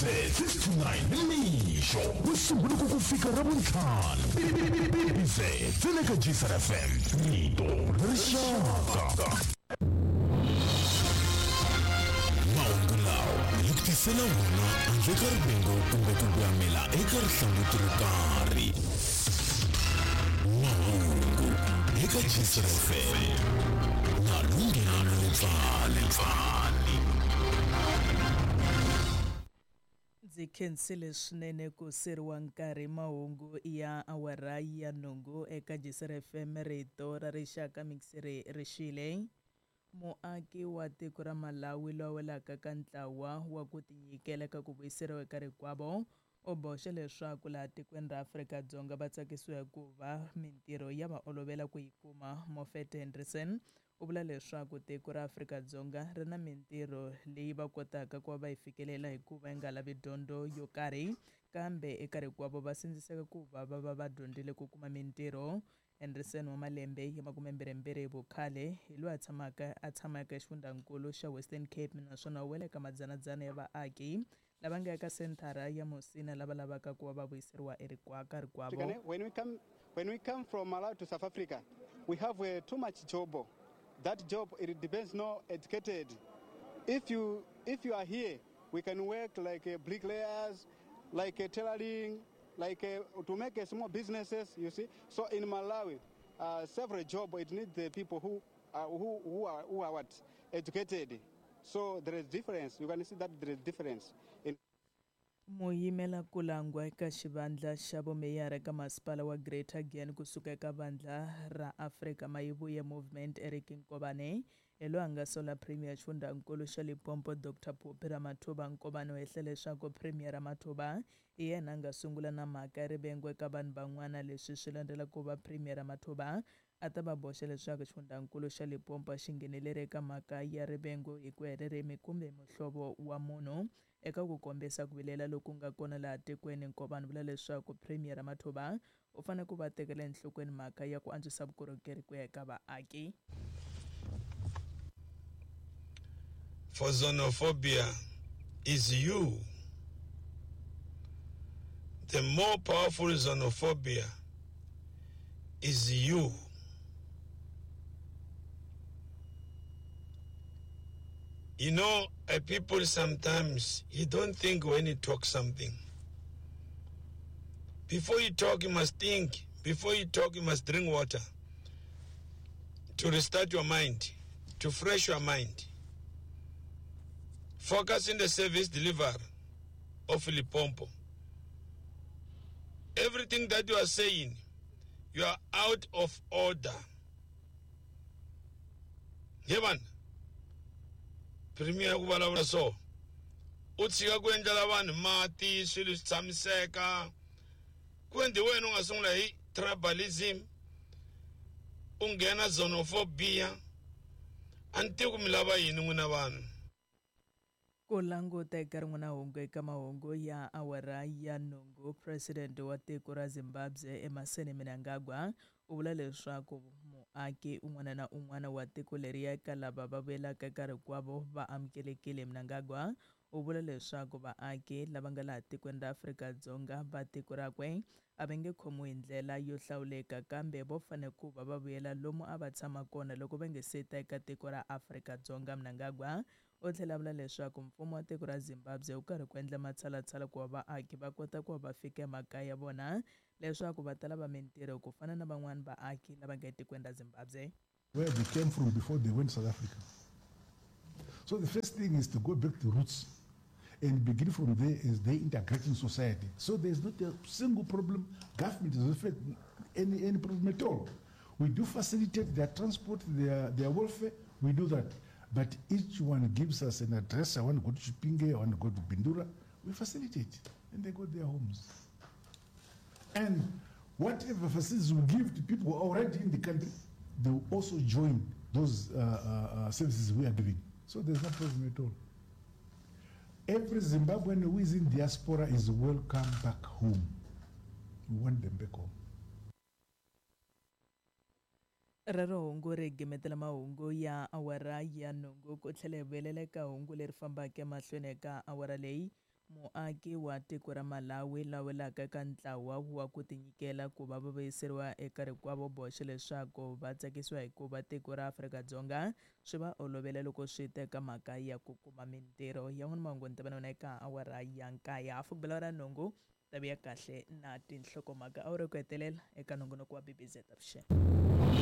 BBZ 6 to 9 nimixo ku sungula ku ku fika Ravuntlhanu. BBZ ntsena eka Gcr FM, rito ra rixaka. Mahungu lawa hi ku tisela wona handle ka rivengo kumbe ku gwamela eka rihlanguti ro karhi. Mahungu eka Gcr FM na Lunghelo Letsale. Ndzi khensile swinene ku siriwa nkarhi mahungu ya awara ya nhungu eka Gisere FM rito ra rixaka mixere rixile. Muaki wa tiko ra Malawi loyi a welaka ka ntlawa wa ku tinyikela ka ku vuyiseriwa eka rikwavo u boxe leswaku laha tikweni ra Afrika-Dzonga va tsakisiwa hikuva mintirho ya va olovela ku yi kuma. Mofete Hendriksen u vula leswaku tiko ra Afrika-Dzonga ri na mintirho leyi va kotaka ku va va yi fikelela hikuva yi nga lavi dyondzo yo karhi kambe eka rikwavo va sindziseka ku va va va va dyondzile ku kuma mintirho. Hendriksen wa malembe ya makumembirhimbirhi hi vukhale hi loyi a tshamaka a tshamaka exifundzankulu xa Western Cape naswona u wela eka madzanadzana ya vaaki lava nga eka senthara ya Musina lava lavaka ku va va vuyiseriwa erikwaka rikwavo. When we come, when we come from Malawi to South Africa, we have too much job. That job, it depends no educated. If you are here, we can work like bricklayers, like tailoring, like to make small businesses, you see. So in Malawi, several job, it needs the people who are, who are what? Educated. So there is difference. You can see that there is difference. In Muyimela ku langwa eka xivandla xa vumeyara eka masipala wa Greater Giyani kusuka eka vandla ra Afrika Mayivuye Movement Eric Nkovane hi loyi a nga sola Premier xifundzankulu xa Limpopo Dr Phophi Ramathuba. Nkovane u hehle leswaku Premier Ramathuba hi yena a nga sungula na mhaka ya rivengo eka vanhu van'wana. Leswi swi landzela ku va Premier Ramathuba a ta va boxa leswaku xifundzankulu xa Limpopo a xi ngheneleri eka mhaka ya rivengo hi ku ya hi ririmi kumbe muhlovo wa munhu. Eka ku kombisa ku vilela loku nga kona laha tikweni, Nkovane vula leswaku Premier Ramathuba u fanele ku va tekela enhlokweni mhaka ya ku antswisa vukorhokeri ku ya eka vaaki. For xenophobia is you. The more powerful xenophobia is you. You know, people sometimes, you don't think when you talk something. Before you talk, you must think. Before you talk, you must drink water. To restart your mind, to fresh your mind. Focus in the service delivery of Limpopo. Everything that you are saying, you are out of order. Hevan, Premier ku vulavula so, u tshika ku endlela vanhu mati, swilo swi tshamiseka. Ku endli wena u nga sungula hi tribalism, u nghena xenophobia. A ni tivi ku mi lava yini n'wina vanhu. Ku languta eka rin'wana hungu eka mahungu ya awara ya nhungu, President wa tiko ra Zimbabwe Emmerson Mnangagwa u vula leswaku muaki un'wana na un'wana wa tiko leriya eka lava va vuyelaka eka rikwavo va amukelekile. Mnangagwa u vula leswaku vaaki lava nga laha tikweni ra Afrika-Dzonga va tiko rakwe a va nge khomiwi hi ndlela yo hlawuleka kambe vo fanele ku va va vuyela lomu a va tshama kona loko va nge se ta eka tiko ra Afrika-Dzonga. Mnangagwa u tlhela a vula leswaku mfumo wa tiko ra Zimbabwe wu karhi ku endla matshalatshala ku va vaaki va kota ku va va fika emakaya ya vona leswaku va ta lava mintirho ku fana na van'wani vaaki lava nga etikweni ra Zimbabwe. Where they came from before they went to South Africa. So the first thing is to go back to roots and begin from there as they integrate in society. So there's not a single problem. Government doesn't affect any problem at all. We do facilitate their transport, their welfare, we do that. But each one gives us an address. I want to go to Chipinge, I want to go to Bindura. We facilitate, and they go to their homes. And whatever facilities we give to people who are already in the country, they will also join those services we are giving. So there's no problem at all. Every Zimbabwean who is in diaspora is welcome back home. We want them back home. Rero hungu ri gimetela mahungu ya awara ya nhungu ku tlhela hi vuyelela eka hungu leri fambaka emahlweni eka awara leyi. Muaki wa tiko ra Malawi la welaka eka ntlawa wa ku tinyikela ku va va vuyiseriwa eka rikwavo boxe leswaku va tsakisiwa hikuva tiko ra Afrika-Dzonga swi va olovela loko swi teka mhaka ya ku kuma mintirho. Yan'wana mahungu ni ta va na wona eka awara ya 9, hafu ku bela awara ya 8 ta vuya kahle na tinhlokomhaka. Awara ku hetelela eka nongonoko wa BBZ avuxeni.